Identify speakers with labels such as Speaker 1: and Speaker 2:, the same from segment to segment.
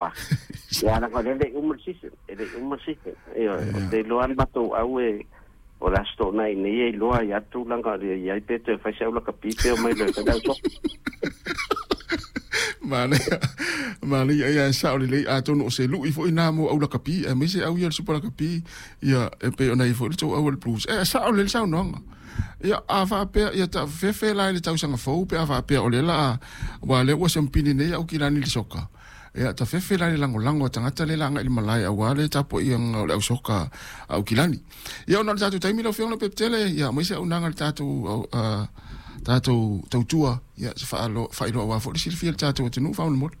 Speaker 1: Ia leaga o lea e le i uma le season, e le i uma le season. Ioe, ou te iloa lava le matou au e o le Aso Toonai nei e iloa ai lava le tulaga o le i ai pe toe fai se au lakapi pe omai loa e fai le au soka.
Speaker 2: Manaia, manaia ia e sao lelei atonu o se lui foi na mo au lakapi aemaise au ia le Super Lakapi ia e pei ona i ai foi le tou au o le Blues. E sao lelei le saunoaga. Ia a faapea ia ta fefe la i le tausaga fou pe a faapea o lea la a aua lea ua siamupini nei au kilani i le soka. Ia ta fefe la i le lagolago a tagata lea la agai i le malae aua le tapuaiga o le au soka a Aukilani. Ia ona o le tatou taimi lau Afioga Leupepetele, ia aumai se auaunaga i le tatou tatou tautua, ia se faailoa aua foi le silafia e le tatou atunuu faamolemole.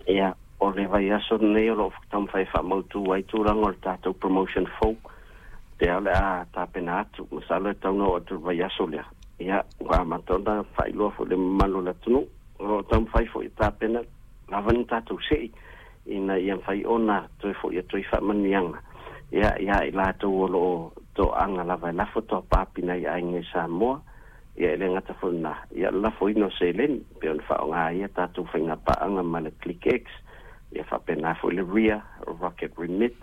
Speaker 1: Ia, o le vaiaso lenei o lo o taumafai e faamautu ai tulaga o le tatou promotion fou, lea o le a tapena atu. Masalo e tatau ona oo atu i le vaiaso lea, ia, ua amata ona faailoa foi i le mamalu o le atunuu. O lo o taumafai foi e tapena lava ni tatou sei ina ia mafai ona toe foi atu ai faamanuiaga ia ia i latou o lo o toaga lava e lafo toapaapi nai aiga i Samoa, ia e le gata foi i lena, ia o le lafoina o seleni e pei ona faaaoga ai a tatou faiga paaga ma le ClickX, ia faapena foi le Ria Rocket Remit,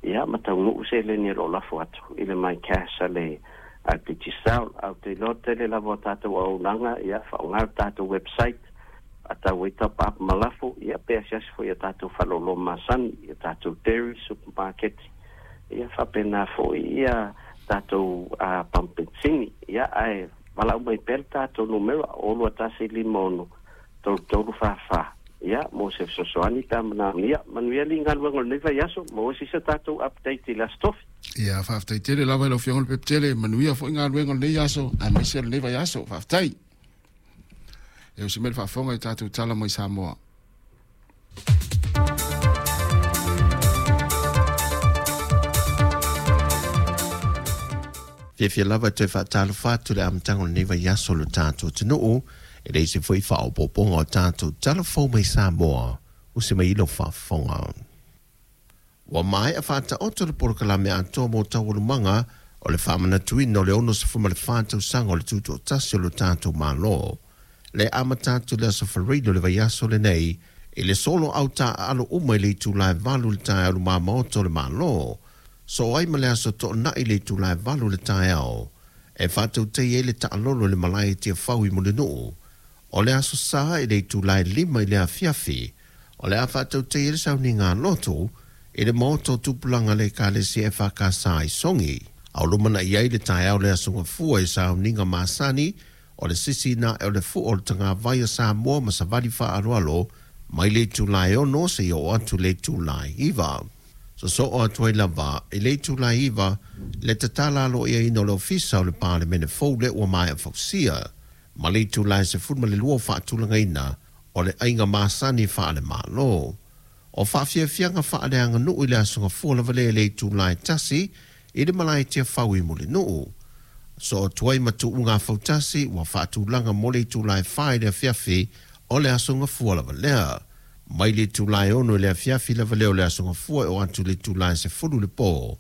Speaker 1: ia ma taunuu seleni o lo o lafo atu i le MyCash a le Digicel. Ae ou te iloa tele lava o tatou auaunaga, ia faaaoga le tatou website, a tau ai tapa ma lafo, ia pe asiasi foi i a tatou faleoloa masani, i a tatou dairy, supermarket, ia faapena foi ia tatou pamu penisini. Ia ae valaau mai pea le tatou numera 021 56 3344, ia mo se fesoasoani pe a manaomia. Manuia alii galuega o lenei vaiaso, maua se isi o tatou update i le Aso Tofi.
Speaker 2: Ia, faafetai tele lava i lau Afioga Leupepetele, manuia foi galuega o lenei aso aemaise o lenei vaiaso. Faafetai. E usi mai le faafofoga i tatou tala mai Samoa.
Speaker 3: Fiafia lava e toe faatalofa atu i le amataga o lenei vaiaso o lo tatou atunuu, e leai se foi faaopoopoga o tatou tala fou mai Samoa, usi mai i lau faafofoga. Ua maea faataoto le polokalame atoa mo taualumaga o le faamanatuina o le 64 tausaga o le Tutoatasi o lo tatou Malo. Le amata atu i le Aso Faraile o le vaiaso lenei i le solo au taaalo uma i le itula e 8 i le taeao i luma maota o le Malo, soo ai ma le Aso Toonai i le itula e 8 i le taeao e faatautaia ai le taalolo i le malae i Tiafau i Mulinuu. O le Aso Sa i le itula e 5 i le afiafi, o le a faatautaia le sauniga lotu i le maota o tupulaga a le Ekalesia EFKS i Sogi. A o lumanai ai le taeao o le Aso Gafua i sauniga masani o le sisiina ae o le fua o le tagavai a Samoa ma savali faaaloalo mai le itula e 6 seia oo atu i le itula e 9. Sosoo atu ai lava i le itula e 9 le tatala aloaiaina o le Ofisa o le Palemene fou lea ua maea fausia. Ma le itula e 12 o faatulagaina o le aiga masani faale-Malo. O faafiafiaga faaleaganuu i le Aso Gafua lava lea i le itula e 1 i le malae Tiafau i Mulinuu. Soo atu ai ma tuuga fautasi ua faatulaga mo le itula e 4 i le afiafi o le Aso Gafua lava lea. Mai le itula e 6 i le afiafi lava lea o le Aso Gafua e oo atu i le itula e 10 i le po.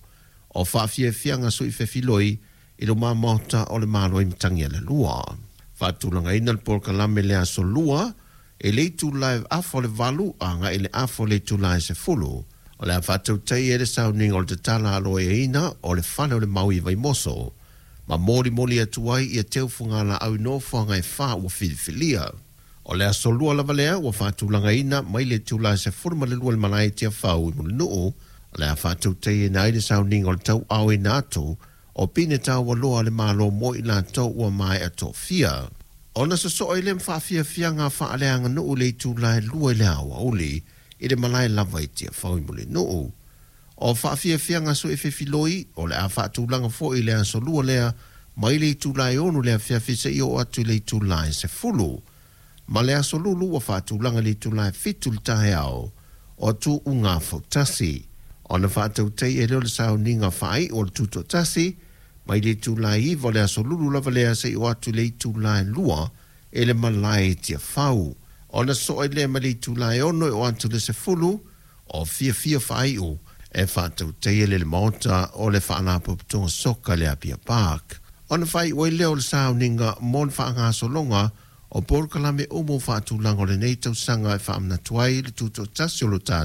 Speaker 3: O faafiafiaga sui fefiloi i luma maota o le Malo i Matagialalua. Faatulagaina le polokalame le Aso Lua i le itula e 7:30 agai i le afa o le itula e 10. O le a faatautaia ai le sauniga o le tatala aloaiaina o le fale o le Mau i Vaimoso ma molimoli atu ai ia teufuga laau i nofoaga e fa ua filifilia. O le Aso Lua lava lea ua faatulagaina mai le itula e 12 i le malae i Tiafau i Mulinuu, o le a faatautaiaina ai le sauniga o le tauaoina atu o pine taualoa a le Malo mo i latou ua maea tofia. Ona sosoo ai lea ma faafiafiaga faaleaganuu i le itula e 2 i le aoauli i le malae lava i Tiafau i Mulinuu. O faafiafiaga suefefiloi o le a faatulaga foi i le Aso Lua lea mai le itula e 6 i le afiafi seia oo atu i le itula e 10. Ma le Aso Lulu ua faatulaga i le itula e 7 i le taeao o tuuga fautasi. Ona faatautaia ai lea o le sauniga faaiu o le Tutoatasi mai le itula e 9 o le Aso Lulu lava lea seia oo atu i le itula e 2 i le malae i Tiafau. Ona soo ai lea mai le itula e 6 e oo atu i le 10 o fiafia faaiu e faatautaia le maota o le Faalapotopotoga Soka i le Apia Park. Ona faaiu ai lea o le sauniga mo le faagasologa o polokalame uma o faatulaga o lenei tausaga e faamanatu ai le tutoatasi o lo tatou.